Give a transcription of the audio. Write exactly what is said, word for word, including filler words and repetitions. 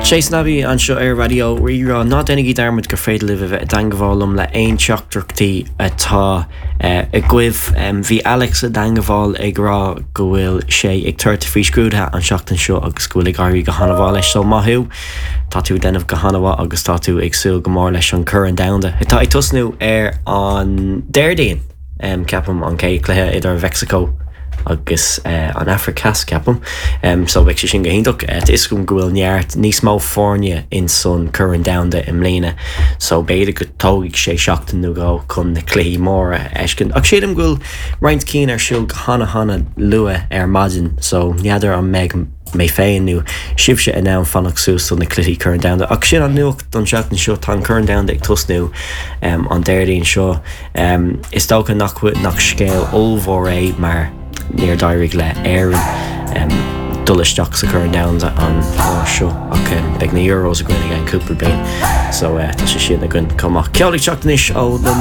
Jason Abbey anseo ar Raidió Rí-Rá ná déanaigí dearmad gur féidir libh a bheith i dteagmháil liom le aon teachtaireachtaí atá agaibh. Bhí Alex i dteagmháil ag rá go bhfuil sé ag tabhairt faoi scrúduithe an seachtain seo agus go bhfuil ag éirí go han-mhaith leis so maith thú. Tá tú déanamh go han-mhaith agus tá tú ag súil go mór leis an Chorn Domhanda. Tá ag tosnú ar an Déardaoin um, ceapaim an chéad cluiche idir Mexico agus uh, an Afraic Theas ceapaim um, so beidh sé sin go hiontach uh, is go bhfuil neart níos mó foirne in san Chorn Domhanda i mbliana so b'fhéidir go dtógfaidh sé seachtain nó dhó chun na cluichí móra a fheiscint. Ach sílim go bhfuil roinnt cinn ar siúl go hana hana luath ar maidin so n'fheadar an mbeidh mé féin nó sibhse in ann fanacht suas do na cluichí Chorn Domhanda. Ach sin an nuacht don seachtain seo tá an Corn Domhanda ag tosnú um, an Déardaoin seo um, is dócha nach nach scéal ollmhór é mar níor d'éirigh le Éirinn um, dul isteach sa Chorn Domhanda an uair seo ach um, beidh na Euros againn again cúpla bliain so uh, tá sé sin againn chomh maith. Ceol ag teacht anois ó na